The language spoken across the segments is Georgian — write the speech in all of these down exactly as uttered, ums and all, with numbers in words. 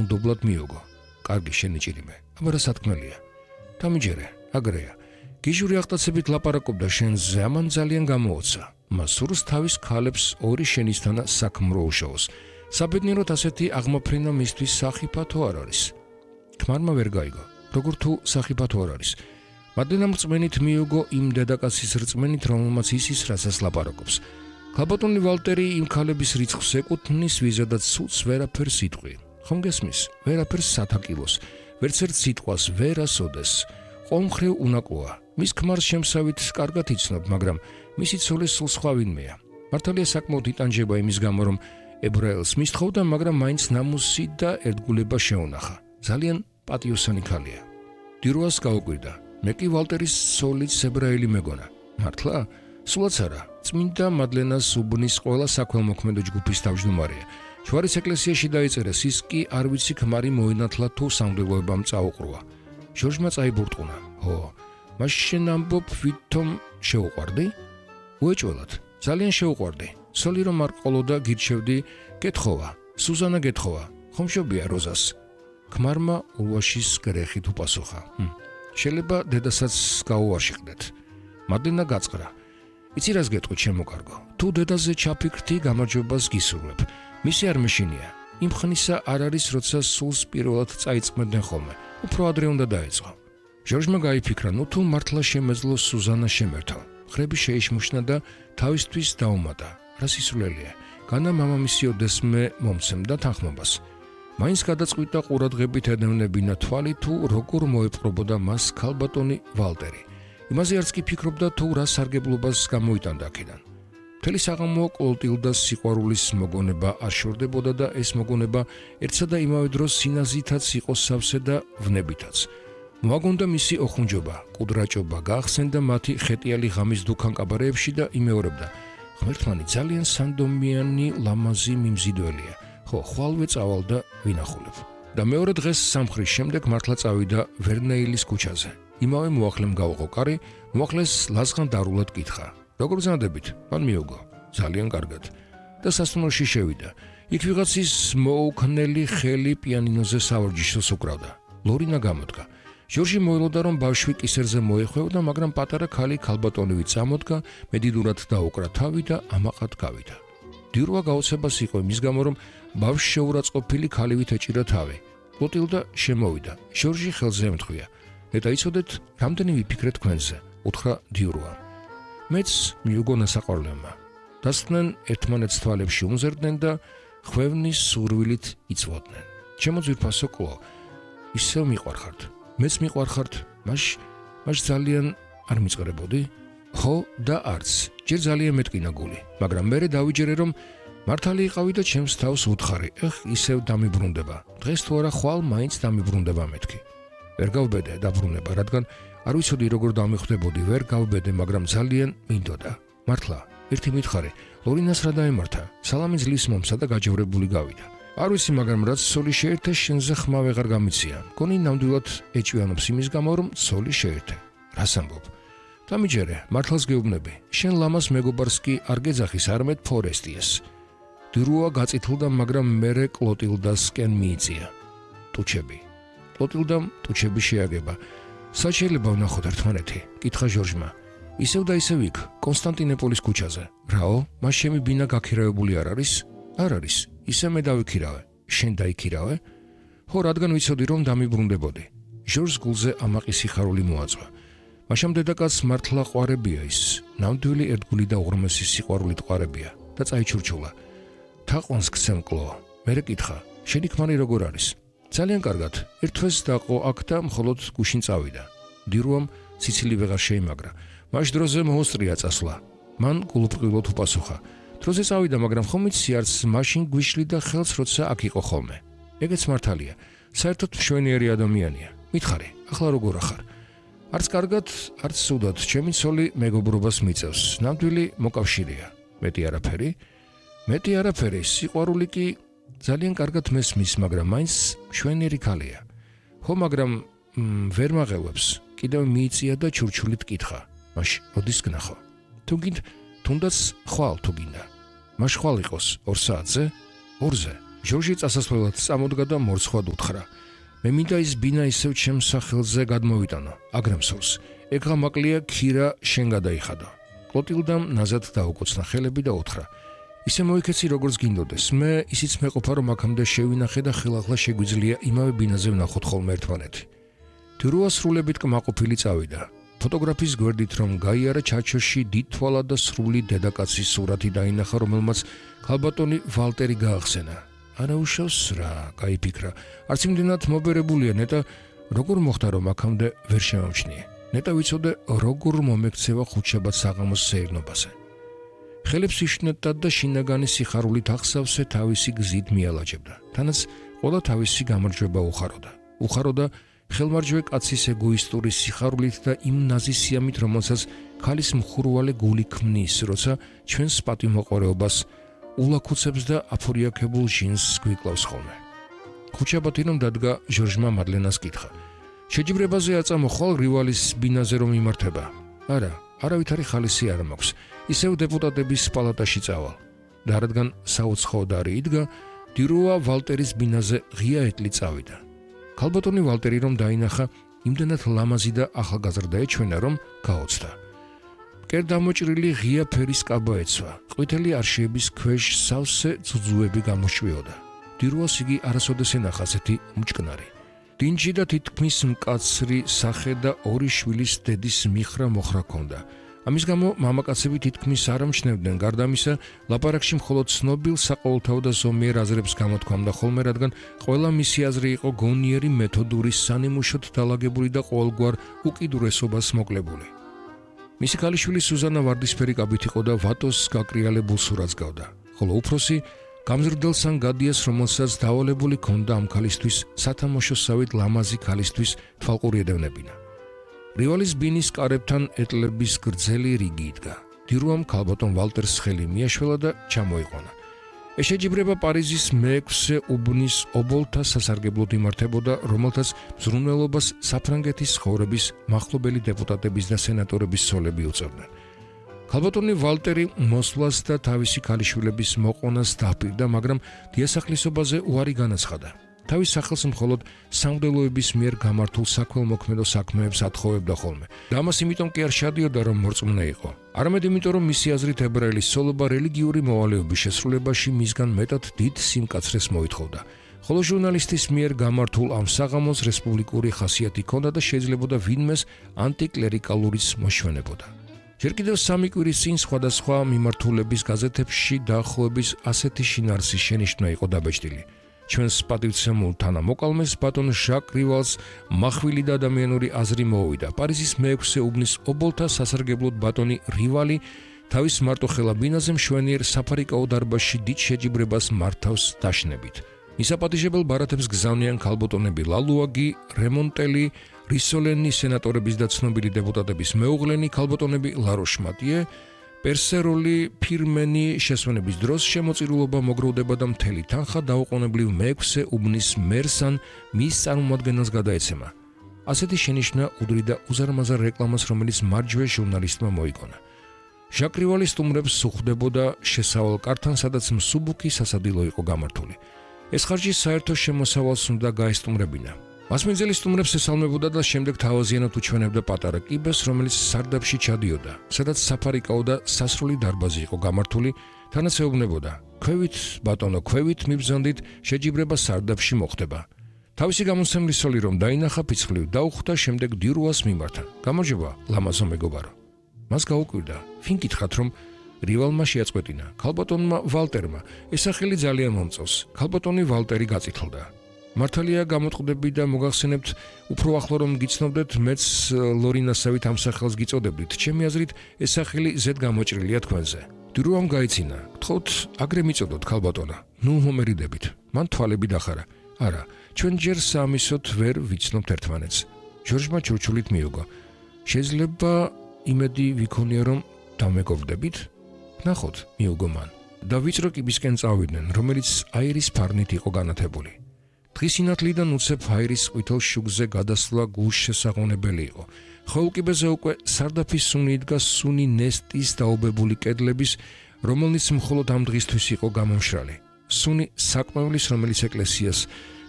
დაუნდობლად მიოგო. კარგი შენი ჭირიმე, აბა რა სათქმელია. დამიჯერე, აგრეა. გიჟური აღტაცებით ლაპარაკობდა შენზე, ამან ძალიან გამოოცა. მას სურს თავის ქალებს ორი შენისთანა საქმრო უშაოს. საბედნიეროდ ასეთი აღმაფრენა მისთვის სახიფათო არ არის. ქმარმა ვერ გაიგო, როგორ თუ სახიფათო არ არის. მადლენამ რწმენით მიოგო იმ დედაკაცის რწმენით, რომელმაც ისის რასაც ლაპარაკობს. ქალბატონი ვალტერი იმ ქალების რიცხვს ეკუთვნის, ვიზედაც სულს ვერაფერს იტყვი. ხომ გესმის? ვერაფერს სათაკილოს, ვერც ერთ სიტყვას ვერ ასოდეს. ყომხრივ უნაკლოა. მის ქმარს შემსავით კარგად იცნობ, მაგრამ მისი ცოლის სულ სხვა ვინმეა. მართალია საკმაოდ იტანჯება იმის გამო, რომ ებრაელს მისთხოვდა, მაგრამ მაინც ნამუსი და ერთგულება შეუნახა. ძალიან პატიოსანი ქალია. დიროას გაუკვირდა. მე კი ვალტერის ცოლიც ებრაელი მეგონა. მართლა? სულაც არა. წმინდა მადლენას უბნის ყველა საქველმოქმედო ჯგუფის თავმჯდომარეა. ჯვარის ეკლესიაში დაიწერეს, ის კი არ ვიცი ქმარი მოინათლა თუ სამღვდელოებამ წაუყრუა. ჟორჟმა წაიბურტყუნა. ჰო, მაშ შენ ამბობ, ვითომ შეუყვარდი? უეჭველად, ძალიან შეუყვარდი. სოლი რომ არ ყოლოდა გირჩევდი, გეთხოვა, სუზანა გეთხოვა, ხომ მშობია როზას? ქმარმა ულვაშის გრეხით უპასუხა. შეიძლება დედასაც გაუარშიყდეთ. მადლენა გაწყრა. იცი რას გეტყვი, ჩემო კარგო? თუ დედაზე ჩაფიქრდი, გამარჯვებას გისურვებ. მისი არ მეშინია. იმ ხნისა არ არის, როცა სულს პირველად წაიწმენდნენ ხოლმე. უფრო ადრე უნდა დაეწყო. ჟორჟმა გაიფიქრა, ნუ თუ მართლა შემეძლო სუზანა შემერთო. ხრები შეიშმუშნა და თავისთვის დაუმატა. რა სისულელია. განა მამამისი ოდესმე მომცემდა თანხმობას. მაინც გადაწყვიტა ყურადღებით ედევნებინა თვალი თუ როგორ მოეპყრობოდა მას ქალბატონი ვალტერი. იმაზე არც კი ფიქრობდა თუ რა სარგებლობას გამოიტანდა აქედან. მთელი საღამო კლოტილდას სიყვარულის მოგონება არ შორდებოდა და ეს მოგონება ერთსა და იმავე დროს სინაზითაც იყო სავსე და ვნებითაც. მოაგონდა მისი ოხუნჯობა, კუდრაჭობა, გაახსენდა მათი ხეტიალი ღამის დუქან კაბარეებში და იმეორებდა. ღმერთმანი ძალიან სანდომიანი ლამაზი მიმზიდველია. ხო, ხვალვე წავალ და ვინახულებ. და მეორე დღეს სამხრის შემდეგ მართლა წავიდა ვერნეილის ქუჩაზე. იმავე მოახლემ გაუღო კარი, მოახლეს ლაზღან დარულად კითხა. როგორ გზნადებით? მან მიოგო. ძალიან კარგად. და სასტუმროში შევიდა. იქ ვიღაცის მოუქნელი ხელი პიანინოზე სავარჯიშოს უკრავდა. ლორინა გამოდგა. ჟორჟი მოელოდა, რომ ბავშვი კისერზე მოეხვევდა, მაგრამ პატარა ქალი ქალბატონივით წამოდგა, მედიდურად დაუკრა თავი და ამაყად გავიდა. დიროა გაოცებას იყო იმის გამო, რომ ბავშვს შეურაცხყოფილი ქალივით ეჭირა თავი. კლოტილდა შემოვიდა. ჟორჟი ხელზე ემთხვია. ნეტა იცოდეთ, რამდენი ვიფიქრეთ თქვენზე, უთხრა დიროა. მეც მიუგო ნასაყვარლემა. დასხდნენ ერთმანეთს თვალებში უმზერდნენ და ხვევნის სურვილით იწვოდნენ. ჩემო ძვირფასო კლო, ისევ მიყვარხართ. მეც მიყვარხართ, მაშ მაშ ძალიან არ მიწყრებოდი? ხო და არც. ჯერ ძალიან მეტკინა გული, მაგრამ მერე დავიჯერე, რომ მართალი იყავი და ჩემს თავს უთხარი. ეხ, ისევ დამიბრუნდება. დღეს თუ არა ხვალ მაინც დამიბრუნდება მეთქი. ვერ გავბედე დაბრუნება, რადგან არ ვიცოდი როგორ დამიხვდებოდი, ვერ გავბედე, მაგრამ ძალიან მინდოდა. მართლა, ერთი მითხარი, ლორინას რა დაემართა? სალამი ძლივს მომსა და გაჯევრებული გავიდა. არ ვიცი, მაგრამ რაც ცოლი შეერთე, შენზე ხმა ვეღარ გამიცია. გონი ნამდვილად ეჭვიანობს იმის გამო, რომ ცოლი შეერთე. რას ამბობ? დამიჯერე, მართლაც გეუბნები. შენ ლამას მეგობარს კი არ გეძახის, არამედ ფორესტიეს. დიროა გაწითლდა, მაგრამ მერე კლოტილდასკენ მიიწია. ტუჩები. კლოტილდამ ტუჩები შეაგება. საჩელება ვნახოთ ერთმანეთი, კითხა ჟორჟმა. ისევ და ისევ იქ, კონსტანტინოპოლის ქუჩაზე. რაო, მას შემი ბინა გაქირავებული არ არის? არ არის. ისე მე დავიქირავე. შენ დაიქირავე? ხო, რადგან ვიცოდი, რომ დამიბრუნდებოდი. ჟორჟს გულზე ამაყი სიხარული მოაწვა. მაშამ დედაკაცს მართლა ყვარებია ის. ნამდვილი ერთგული და უღრმესი სიყვარულით ყვარებია და წაიჩურჩულა. თაყვანს გცემ კლო. მერე კითხა, შენი ქმარი როგორ არის? ძალიან კარგად. ერთ თვეს დაყო აქ და მხოლოდ გუშინ წავიდა. დიროამ ციცილი ვეღარ შეიმაგრა. მაშ დროზე მოუსწრია წასვლა. მან გულუბრყვილოდ უპასუხა. დროზე წავიდა, მაგრამ ხომ იცი, არც მაშინ გვიშლიდა ხელს, როცა აქ იყო ხოლმე. ეგეც მართალია. საერთოდ მშვენიერი ადამიანია. მითხარი, ახლა როგორ ახარ? არც კარგად, არც სუდად, ჩემი ცოლი მეგობრობას მიწევს. ნამდვილი მოკავშირეა. მეტი არაფერი? მეტი არაფერი, სიყვარული კი ძალიან კარგად მესმის, მაგრამ მაინც მშვენიერი ქალია. ხო, მაგრამ ვერ მაღელვებს. კიდევ მიიწია და ჩურჩულით კითხა. მაშ როდის გნახო? თუ გინდ, თუნდაც ხვალ თუ გინდა. მაშ ხვალ იყოს ორ საათზე? ორზე. ჟორჟი წასასვლელად წამოდგა და მორცხვად უთხრა: მე მინდა ის ბინა ისევ ჩემს სახელზე გადმოვიტანო, აგრემსურს. ეგღა მაკლია ქირა შენ გადაიხადო. კლოტილდამ ნაზად დაუკოცნა ხელები და უთხრა: ისე მოიქეცი როგორც გინდოდეს. მე ისიც მეყოფა რომ აქამდე შევინახე და ხელახლა შეგვიძლია იმავე ბინაზე ვნახოთ ხოლმე ერთმანეთი. დირუა სრულებით კმაყოფილი წავიდა. ფოტოგრაფის გვერდით რომ გაიარა ჩარჩოში დიდთვალა და სრული დედაკაცის სურათი დაინახა, რომელმაც ქალბატონი ვალტერი გაახსენა. არა უშავს რა, გაიფიქრა. არც იმდენად მობერებულია ნეტა, როგორ მოხდა რომ აქამდე ვერ შემამჩნიე. ნეტა ვიცოდე როგორ მომექცევა ხუთშაბათ საღამოს სეირნობაზე. ხელებს იშნებდა და შინაგანი სიხარულით ახსავსე თავისი გზით მიალაჯებდა. თანაც ყველა თავისი გამარჯვება უხაროდა. უხაროდა ხელმარჯვე კაცის ეგოისტური სიხარულით და იმ ნაზისიამით, რომელსაც ქალის მხურვალე გული ქმნის, როცა ჩვენს პატიმოყარეობას ულაქუცებს და აფორიაქებულ ჟინს გვიკლავს ხოლმე. ხუთშაბათი რომ დადგა, ჟორჟმა მადლენას კითხა: შეჯიბრებაზე აწამოხვალ რივალის ბინაზე რომ იმართება? არა, არავითარი ხალისი არ მაქვს. ისევ დეპუტატების პალატაში წავალ. და რადგან საუცხოოდ არი იდგა, დირუა ვალტერის ბინაზე ღია ეტლი წავიდა. ქალბატონი ვალტერი რომ დაინახა, იმდენად ლამაზი და ახალგაზრდა ეჩვენა, რომ გაოცდა. მკერ დამოჭრილი ღია ფერის კაბა ეცვა. ყვითელი არშიების ქვეშ სავსე ძუძუები გამოშვიოდა. დირუას იგი არასოდეს ენახა ასეთი მჭკნარი. დინჯი და თითქმის მკაცრი სახე და ორი შვილის დედის მიხრა მოხრა ჰქონდა. ამის გამო მამაკაცები თითქმის არ ამჩნევდნენ, გარდა ამისა, ლაპარაკში მხოლოდ ცნობილ საყოველთაო და ზომიერ აზრებს გამოთქვამდა ხოლმე, რადგან ყველა მისი აზრი იყო გონიერი მეთოდური, სანიმუშოდ დალაგებული და ყოველგვარ უკიდურესობას მოკლებული. მისი ქალიშვილი სუზანა ვარდისფერი კაბით იყო და ვატოს გაკრიალებულ სურათს გავდა, ხოლო უფროსი გამზრდელსან გადიას, რომელსაც დავალებული ჰქონდა ამ ქალისთვის სათამაშოსავით ლამაზი ქალისთვის თვალყური ედევნებინა. რივალის ბინის კარებთან ეტლების გრძელი რიგი იდგა. დირუამ ქალბატონ ვალტერს ხელი მიაშველა და ჩამოიყვანა. ეს შეჯიბრება პარიზის მეექვსე უბნის ობოლთა სასარგებლოდ იმართებოდა, რომელთაც მზრუნველობას საფრანგეთის ცხოვრების მახლობელი დეპუტატების და სენატორების სოლები უწევდნენ. ქალბატონი ვალტერი მოსვლას და თავისი ქალიშვილების მოყვანას დაპირდა, მაგრამ დიასახლისობაზე უარი განაცხადა. თავის სახელს მხოლოდ სამღვდელოების მიერ გამართულ საქველმოქმედო საქმეებს ათხოვებდა ხოლმე. და ამას იმიტომ კი არ შადიოდა, რომ მორწმუნე იყო. არამედ იმიტომ, რომ მისი აზრით ებრაელის სოლობა რელიგიური მოვალეობის შესრულებაში მისგან მეტად დიდ სიმკაცრეს მოითხოვდა. ხოლო ჟურნალისტის მიერ გამართულ ამ საღამოს რესპუბლიკური ხასიათი ჰქონდა და შეიძლებოდა ვინმეს ანტიკლერიკალურიც მოშვენებოდა. ჯერ კიდევ სამი კვირის წინ სხვადასხვა მიმართულების გაზეთებში დაახლოების ასეთი შინაარსის შენიშვნა იყო დაბეჭდილი. ჩვენს პატივცემულ თანამოკლმეს ბატონ ჟაკ რივალს მახვილი და ადამიანური აზრი მოუვიდა. პარიზის მეექვსე უბნის ობოლთა სასარგებლოდ ბატონი რივალი თავის მარტოხელა ბინაზე მშვენიერ საფარიკაო დარბაზში დიდ შეჯიბრებას მართავს დაშნებით. მისაპატიჟებელ ბარათებს გზავნიან ქალბატონები ლალუაგი, რემონტელი, რისოლენი, სენატორების და ცნობილი დეპუტატების მეუღლენი, ქალბატონები ლაროშმატიე, პერსეროლი, ფირმენი შესვენების დროს შემოწირულობა მოგროვდება და მთელი თანხა დაუყოვნებლივ მეექვსე უბნის მერსან მის წარმომადგენელს გადაეცემა. ასეთი შენიშვნა უდრიდა უზარმაზარ რეკლამას, რომელიც მარჯვე ჟურნალისტმა მოიგონა. ჟაკ რივალი სტუმრებს უხდებოდა შესავალ კართან, სადაც მსუბუქი სასადილო იყო გამართული. ეს ხარჯი საერთო შემოსავალს უნდა გაესტუმრებინა. მასმენძელი სტუმრებს ესალმებოდა და შემდეგ თავაზიანად უჩვენებდა პატარა კიბეს, რომელიც სარდაფში ჩადიოდა, სადაც საფარიკაო და სასრული დარბაზი იყო გამართული, თანაც ეუბნებოდა: "ქვევით, ბატონო, ქვევით მიბრძანდით, შეჯიბრება სარდაფში მოხდება." თავისი გამოსცემლის სოლი რომ დაინახა, ფიცხლივ დაუხვდა, შემდეგ დირუას მიმართა: "გამარჯობა, ლამაზო მეგობარო." მას გაუკვირდა, ვინ გითხრათ, რომ რივალმა შეაწყვეტინა. ქალბატონმა ვალტერმა ეს სახელი ძალიან მომწონს. ქალბატონი ვალტერი გაწითლდა. მართალია გამოტყდები და მოგახსენებთ, უფრო ახლო რომ გიცნობდეთ, მეც ლორინასავით ამ სახელს გიწოდებდით. ჩემი აზრით, ეს სახელი ზედ გამოჭრილია თქვენზე. დირუამ გაიცინა. გთხოვთ, აგრე მიწოდოთ ქალბატონა. ნუ მომერიდებით. მან თვალები დახარა. არა, ჩვენ ჯერ საამისოდ ვერ ვიცნობთ ერთმანეთს. ჟორჟმა ჩურჩულით მიუგო. შეიძლება იმედი ვიქონია, რომ დამეგობრდებით? ნახოთ, მიუგო მან. და ვიწრო კიბისკენ წავიდნენ, რომელიც აირის ფარნით იყო განათებული. დღის ინათლიდან უცებ აირის ყვითელ შუგზე გადასვლა გულშესაყრდნელი იყო. ხოლკიბეზე უკვე სარდაფის სუნი იდგა, სუნი ნესტის დაობებული კედლების, რომელნიც მხოლოდ ამ დღისთვის იყო გამომშრალი. სუნი საკმევლის, რომელიც ეკლესიას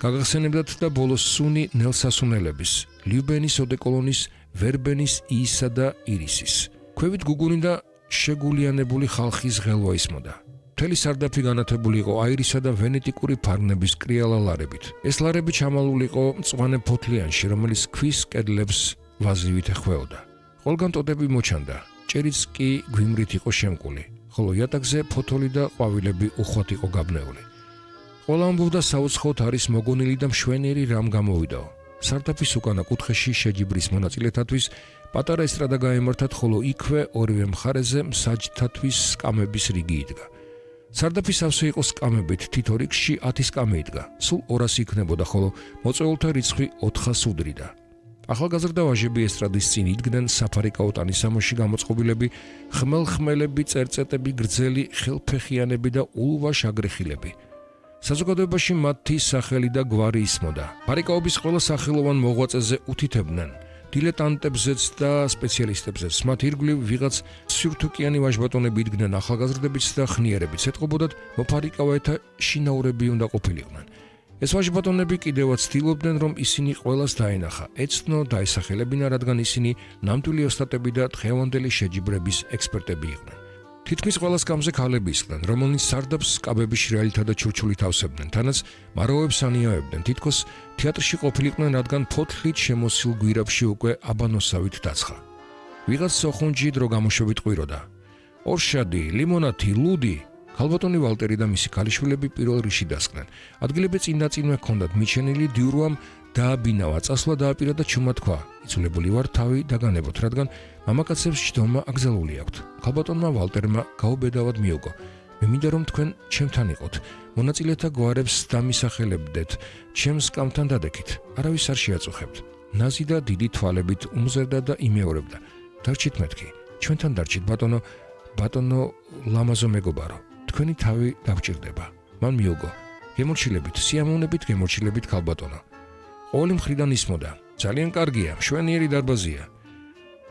გაგახსენებდათ და ბოლოს სუნი ნელსასუნელების, ლიუბენის ოდეკოლონის, ვერბენის, იისა და ირისის. ქვევით გუგუნი და შეგულიანებული ხალხის ღელვა ისმოდა. მთელი სარდაფი განათებული იყო აირისა და ვენეტიკური ფარგლების კრიალა ლარებით. ეს ლარები ჩამალული იყო მწვანე ფოთლიანში, რომელიც ქვის კედლებს ვაზივით ეხვეოდა. ყველგან ტოტები მოჩანდა, ჭერიც კი გვიმრით იყო შემკული, ხოლო იატაკზე ფოთოლი და ყვავილები უხვად იყო გაბნეული. ყველა ამბობდა საუცხოოდ არის მოგონილი და მშვენიერი რამ გამოვიდაო. სარდაფის უკანა კუთხეში შეჯიბრის მონაწილეთათვის პატარა ესტრადა გაემართათ, ხოლო იქვე ორივე მხარეზე მსაჯთათვის სკამების რიგი იდგა. სარდაფის ავსე იყო სკამებით, თითო რიგში ათი სკამე იდგა, სულ ორასი იქნებოდა, ხოლო მოწვეულთა რიცხვი ოთხას უდრიდა. ახალგაზრდა ვაჟები ესტრადის წინ იდგნენ, საფარიკაო ტანისამოში გამოწყობილები, ხმელხმელები, წერწეტები, გრძელი ხელფეხიანები და ულვაშ აგრეხილები. საზოგადოებაში მათი სახელი და გვარი ისმოდა. ფარიკაობის ყველა სახელოვან მოღვაწეზე უთითებდნენ, დილეტანტებზეც და სპეციალისტებზეც. მათ ირგვლივ ვიღაც სივრთუკიანი ვაჟბატონები იდგნენ, ახალგაზრდებიც და ხნიერებიც. ეტყობოდათ, მოფარიკავეთა შინაურები უნდა ყოფილიყვნენ. ეს ვაჟბატონები კიდევაც ცდილობდნენ, რომ ისინი ყველას დაენახა, ეცნო, დაესახელებინა, რადგან ისინი ნამდვილი ოსტატები და დღევანდელი შეჯიბრების ექსპერტები იყვნენ. თითქმის ყველა სკამზე ქალები ისხდნენ, რომელნიც სარდაფს სკამების შრიალითა და ჩურჩულით ავსებდნენ, თანაც მაროვებს ანიავებდნენ, თითქოს თეატრში ყოფილიყვნენ, რადგან ფოთლით შემოსილ გვირაბში უკვე აბანოსავით დაცხა. ვიღაც სოხუნჯი დრო გამოშვებით ყვიროდა. ორშადი, ლიმონათი, ლუდი. ქალბატონი ვალტერი და მისი ქალიშვილები პირველ რიგში დასხდნენ. ადგილები წინდაწინვე ჰქონდათ მიჩენილი, დიურვამ დააბინავა, წასვლა დააპირა და ჩუმად თქვა, იცულებული ვარ თავი დაგანებოთ, რადგან მამაკაცებს ჯდომა აკრძალული აქვთ. ქალბატონმა ვალტერმა გაუბედავად მიუგო. მე მინდა რომ თქვენ ჩემთან იყოთ, მონაწილეთა გვარებს დამისახელებდეთ, ჩემს სკამთან დადექით, არავის არ შეაწუხებთ. ნაზი და დიდი თვალებით უმზერდა და იმეორებდა. დარჩით მეთქი, ჩვენთან დარჩით ბატონო, ბატონო ლამაზო მეგობარო, თქვენი თავი დაგჭირდება. მან მიუგო. გემორჩილებით, სიამოვნებით გემორჩილებით ქალბატონო. ყოველი მხრიდან ისმოდა. ძალიან კარგია, მშვენიერი დარბაზია.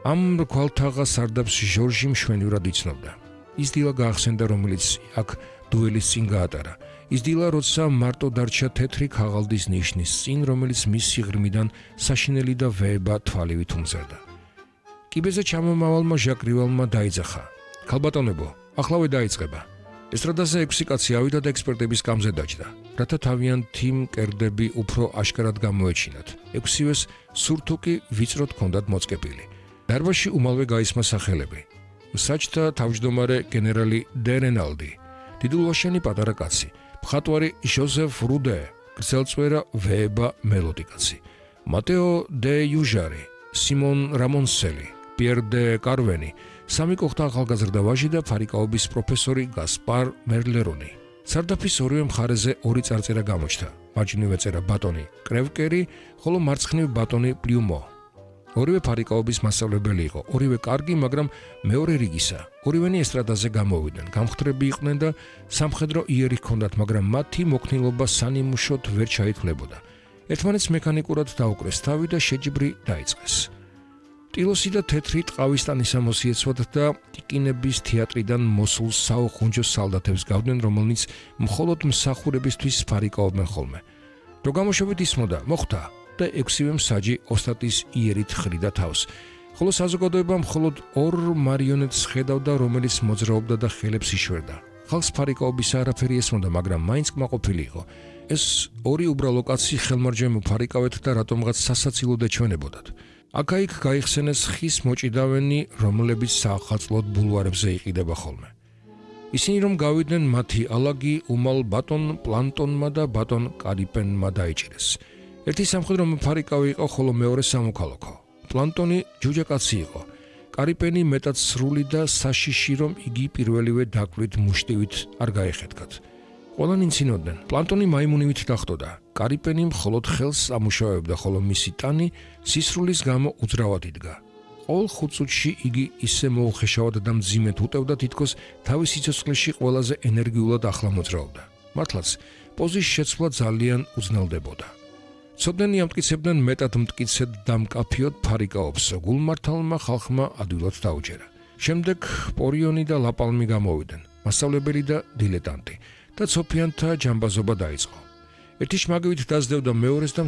ამ რქვალთაღა სარდაფს ჟორჟი მშვენივრად იცნობდა. ის დილა გაახსენდა, რომელიც აქ დუელის წინ გაატარა. ის დილა, როცა მარტო დარჩა თეთრი ქაღალდის ნიშნის წინ, რომელიც მის სიღრმიდან საშინელი და ვეება თვალივით უმზერდა. კიბეზე ჩამომავალმა ჟაკრივალმა დაიძახა. ქალბატონებო, ახლავე დაიწყება. ესტრადაზე ექვსი კაცი ავიდა და ექსპერტების სკამზე დაჯდა, რათა თავიანთი მკერდები უფრო აშკარად გამოეჩინათ. ექვსივეს სურთუკი ვიწროდ ჰქონდათ მოწყებილი. დარბაზში უმალვე გაისმა სახელები. მსაჯთა თავმჯდომარე გენერალი დე რენალდი, დიდულვაშენი პატარა კაცი, მხატვარი ჟოზეფ რუდე, გრძელწვერა ვეება მელოდიკაცი, მატეო დე იუჟარი, სიმონ რამონსელი, პიერ დე კარვენი, სამი კოხთა ახალგაზრდა ვაჟი და ფარიკაობის პროფესორი გასპარ მერლერონი. სარდაფის ორივე მხარეზე ორი წარწერა გამოჩნდა. მარჯვნივ წერა ბატონი კრევკერი, ხოლო მარცხნივ ბატონი პლიუმო. ორივე ფარიკაობის მასწავლებელი იყო, ორივე კარგი, მაგრამ მეორე რიგისა. ორივენი ესტრადაზე გამოვიდნენ, გამხდრები იყვნენ და სამხედრო იერი ჰქონდათ, მაგრამ მათი მოქნილობა სანიმუშოდ ვერ ჩაითვლებოდა. ერთმანეთს მექანიკურად დაუკრეს თავი და შეჯიბრი დაიწყეს. ტილოსი და თეთრი ტყავის ტანისამოსი ეცვათ და ტიკინების თეატრიდან მოსულ საოხუნჯო სალდათებს გავდნენ, რომელნიც მხოლოდ მსახურებისთვის ფარიკაობდნენ ხოლმე. რო გამოშვებით ისმოდა, მოხვდა და ექვსივე მსაჯი ოსტატის იერით ხრიდა თავს, ხოლო საზოგადოება მხოლოდ ორ მარიონეტს ხედავდა, რომელიც მოძრაობდა და ხელებს იშვერდა. ხალხს ფარიკაობის არაფერი ესმოდა, მაგრამ მაინც კმაყოფილი იყო. ეს ორი უბრალო კაცი ხელმარჯვენო ფარიკავეთ და რატომღაც სასაცილოდ ეჩვენებოდათ. აქა-იქ გაიხსენეს ხის მოჭიდავენი, რომლებიც საახალწლოდ ბულვარებზე იყიდება ხოლმე. ისინი რომ გავიდნენ, მათი ალაგი უმალ ბატონ პლანტონმა და ბატონ კარიპენმა დაიჭირეს. ერთი სამხედრო ფარიკავი იყო, ხოლო მეორე სამოქალაქო. პლანტონი ჯუჯაკაცი იყო. კარიპენი მეტად სრული და საშიში, რომ იგი პირველივე დაკვირით მუშტივით არ გაეხეთქათ. ყველანი იცინოდნენ, პლანტონი მაიმუნივით დახტოდა. კარიპენი მხოლოდ ხელს ამუშავებდა, ხოლო მისი ტანი სისრულის გამო უძრავად იდგა. ყოველ ხუთ წუთში იგი ისე მოუხეშავად და მძიმედ უტევდა, თითქოს თავის სიცოცხლეში ყველაზე ენერგიულად ახლა მოძრაობდა. მართლაც, პოზის შეცვლა ძალიან უძნელდებოდა. ცოდნენი ამტკიცებდნენ, მეტად მტკიცედ და მკაფიოდ ფარიკაობს. გულმართალმა ხალხმა ადვილად დაუჯერა. შემდეგ პორიონი და ლაპალმი გამოვიდნენ, მასწავლებელი და დილეტანტი. და ცოფიანთა ჯამბაზობა დაიწყო. ერთი შმაგივით დაძდევდა მეორეს და